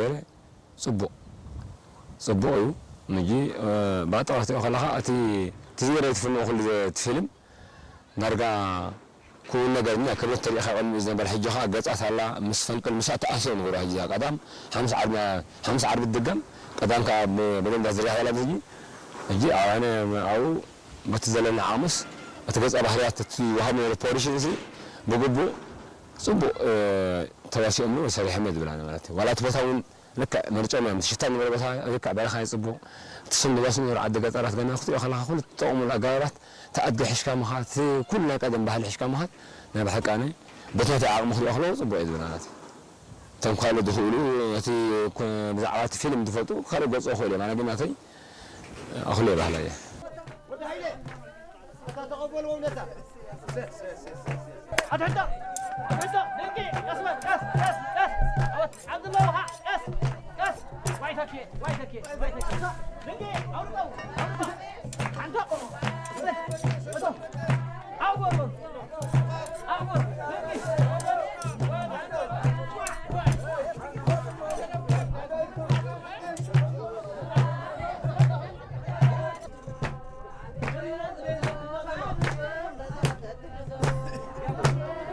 ገለ ጽቡቕ ጽቡቕ እዩ። ምጂ ባጠቕ ክትሪኦ ከለኻ እቲ እቲ ዝገደለ ትፍንዎ ኩሉ እቲ ፊልም ዳርጋ ክውን ነገር እኛ ክብረት ተሪኢኻ ቅድሚ ዝነበረ ሕጂ ኸዓ ገጻት ኣላ ምስ ፈንቅል ምሳእ ተኣስዮ ንገብሮ ሕጂ እዛ ቀዳም ሓምሳ ዓርቢ ሓምሳ ዓርቢ ትድገም ቀዳም ከኣ ብደንብ ዝርያ ኣላ ሕጂ ሕጂ ኣነ ኣብኡ በቲ ዘለና ዓሙስ እቲ ገጸ ባህርያት እቲ ወሃብ ነይሩ ፖዚሽን እዚ ብግቡእ ጽቡቕ ተዋሲኦም ነው ሰሪሖም ዝብላና ማለት እዩ ዋላ እቲ ቦታ እውን ልክዕ መርጨም እዮም ሽታ ንበረ ቦታ ልክዕ በረኻ ይጽቡቕ እቲ ስም ዝወስኑ ዓዲ ገጠራት ገና ክትሪኦ ከለኻ ኩሉ ትጠቕሙሉ ኣገባባት እቲ ኣድጊ ሕሽካ ምኻድ እቲ ኩሉ ናይ ቀደም ባህሊ ሕሽካ ምኻድ ናይ ብሓቂ ኣነ በቲ ናተይ ዓቕሚ ክሪኦ ከለኹ ጽቡቕ እዩ ዝብል ማለት እዩ እቶም ካልእ ዝኽእሉ እቲ ብዛዕባ እቲ ፊልም ዝፈልጡ ካልእ ገጽ ክኽእሉ እዮም ኣነ ግን ናተይ ኣኹሉ የባህላ እየ ኣታ ተቐበልዎም ነታ ኣትሕቶ ኣትሕቶ ደቂ ቀስ በል ቀስ ቀስ ቀስ ዓወት ዓብድላ ውሃ ቀስ ቀስ ዋይ ተኪ ዋይ ተኪ ዋይ ተኪ ደቂ ኣውርቀው ኣውርቀው ሓንቶ እቶ ዓወት